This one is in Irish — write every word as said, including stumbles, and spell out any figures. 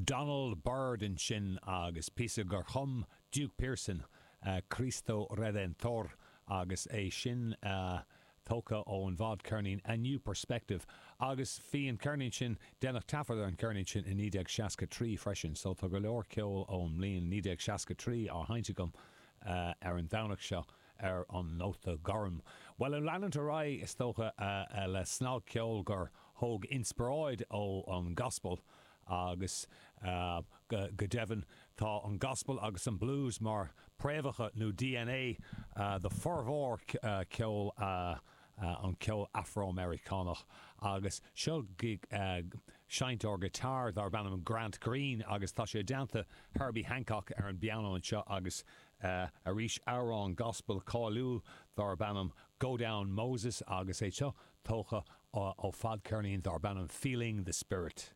Donald Byrd ansin agus píosa gur chum Duke Pearson uh, Cristo Redentor agus é sin uh, tógtha ón bhfadcheirnín A New Perspective agus bhí an ceirnín sin déanadh taifead ar an ceirnín sin i naoi déag seasca trí freisin, so tá go leor ceol ón mbliain naoi déag seasca trí á sheinnt agam uh, ar an Domhnach seo ar an Nóta Gorm. Well an leanúint ar aghaidh is dócha uh, uh, le snagcheol gur thóg inspioráid ó an gospel agus uh, go, go deimhin tá an gospel agus an blues mar préamhacha nó DNA uh, de formhór uh, ceol uh, uh, an ceol Afro-Americanach agus seo uh, seinnteoir guitar darb ainm Grant Green agus tá sé déanta Herbie Hancock ar an bpianó anseo agus uh, arís amhrán gospel cáiliúil darb ainm Go Down Moses agus é seo tógtha ó fadcheirnín darb ainm Feeling the Spirit.